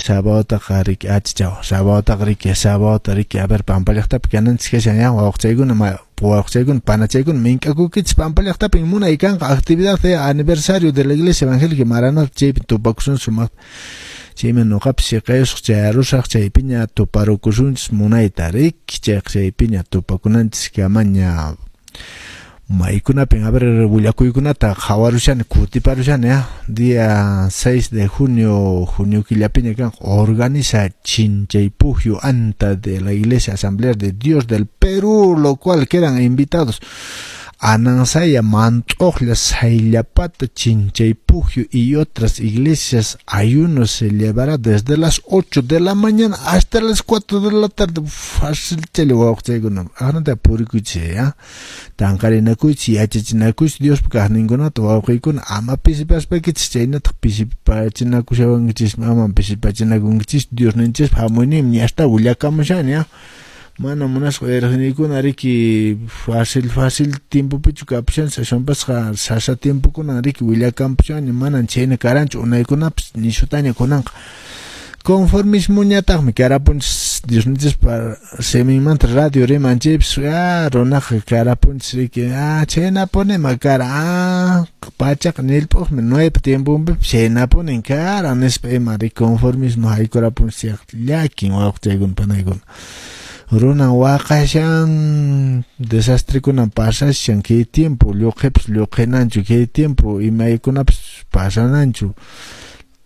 Sabadotaqa riki achichaw, sabadotaqa riki, sabadota riki, a ver Pampa llaqtapi kananchis kashan ya, wawqichaykuna, wawqichaykuna, panachaykuna, mink'akukichis Pampa llaqtapin munay kanqa actividad ya, aniversario de la Iglesia Evangélica Maranata, chaypi tupakusun sumaqta. Chayman noqapis siqayusaq chayarusaq, chaypiña tuparukusunchis munayta riki, chayqa chaypiña tupakunanchis kamaña. Maykunapin, a ver, willakuykunata qhawarushani, kutiparushani, ya. Día 6 de junio, junio killapiña kanqa, organiza Chinchaypujyu Anta de la Iglesia Asamblea de Dios del Perú, lo cual quedan invitados Anansaya, Mant'uqlla, Sayllapata, Chinchaypujyu y otras iglesias. Ayuno se llevará desde las 8 de la mañana hasta las 4 de la tarde. Fácil chaylla wawqichaykuna, aqnata purikuychis, ya. Tanqarinakuychis, yachachinakuychis Diospa kaqninkunata, wawqiykuna, ama pisipaspaykichis, chaynataq pisipachinakushawankichis, ama pisipachinakunkichis, Diosninchispa hamuyninmi ñasta willakamushani, ya. Mana munasqa uyariqniykuna riki, fácil fácil tiempopichu kapushanchis, aswanpasqa sasa tiempokunan riki willakampushanña, manan chhayna karanchu unaykunapas, nishutaña kunanqa. Conformismoñataqmi karapunchis Diosninchispa siminmanta radio riman chaypis, runaqa karapunchis riki, chhaynapunima kara, pachaqa nillp'uqmi Noepa tiemponpipas chhaynapunin kara nispa ima riki conformismo haykurapunchis, llakin wawqichaykuna panaykuna. Runan waqashan, desastrekunan pasashan, kay tiempo lluqhipas lluqhinanchu, kay tiempo imaykunapas pasananchu,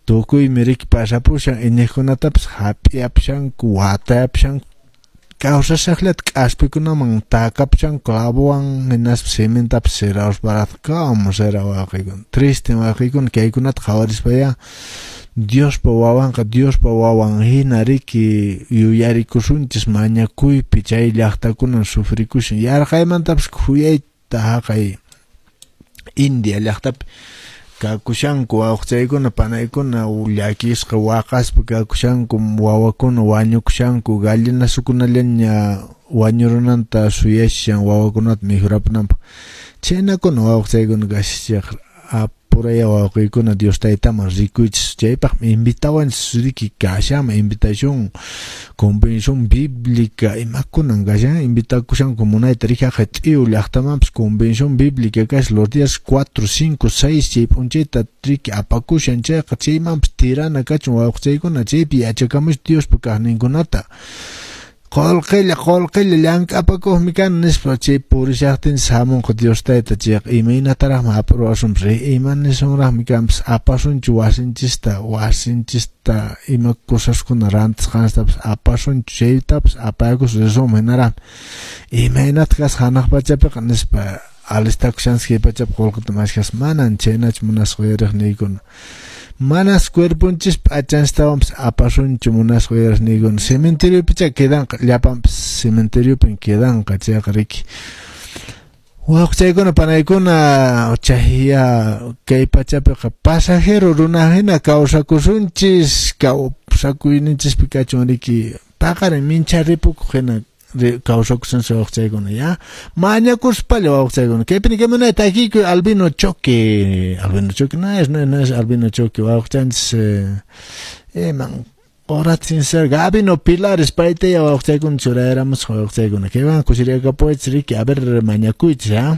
tukuymi riki pasapushan, iñiqkunatapas hap'iyapushanku, watayapushanku, kawsashaqllata k'aspikunaman takapushanku clavowan, hinaspa cementapas sirausparaq, como será wawqiykuna, triste wawqiykuna, kaykunata qhawarispayá Diospa wawanqa Diospa wawan hina riki yuyarikusunchis mañakuypi, chay llaqtakunan sufrikushan, yarqaymantapas khuyayta haqay India llaqtapi kakushanku wawqichaykuna panaykuna, llakisqa waqaspa kakushanku, wawakuna wañukushanku, gallinasukunallaña wañurunanta suyashan wawakunata mikhurapunanpaq, chhaynakuna wawqichaykuna kashachiq, apuraya wawqiykuna Dios taytaman rikuychis, chaypaqmi invitawanchis riki kashanman invitación, convención bíblica, imakunan kashan, invitakushanku munayta riki haqay T'iyu llaqtamanpas convención bíblica kashan los días 4, 5, 6 chay p'unchayta riki apakushan chayqa, chaymanpas tirana kachun wawqichaykuna, chaypi yachakamush Diospa kaqninkunata. Qolqella, qolqella llank'apakuqmi kani nispa chay purishaqtinchis hamunqa Dios tayta chayqa, imaynataraqmi hap'uruwasunpas, ima nisunraqmi kanpas, apasunchu wasinchista, wasinchista ima cosaskuna rantisqanchistapas apasunchu, chaytapas apaykus risunman hinaraqmi, imaynataq kasqa hanaq pachapiqa nispa alistakushanchis kay pachapi qolqeta mashkhaspa, manan chhaynachu munasqa uyariqniykuna. Manas cuerponchis p'achanchistawanpas apasunchu munasqa uyariqniykuna, cementeriopicha quedanqa, llapanpas cementeriopin quedanqa chayqa riki. Wawqichaykuna panaykuna, chayya kay pachapiqa pasajero runa hina kawsakusunchis, kawsakuyninchispi kachun riki, paqarin mincha ripukuq hina kawsakusunchis wawqichaykuna, ya. Mañakuspalla wawqichaykuna. Kaypi nikamuna takiykuy Albino Choque, Albino Choque, no es, no, no es Albino Choque, wawqichanchis, man, qoratzin ser Gabino Pilares, paytaya wawqichaykuna churayaramusqa wawqichaykuna. Kaywan kusiriyakapuwaychis riki, a ver, mañakuychis, ya.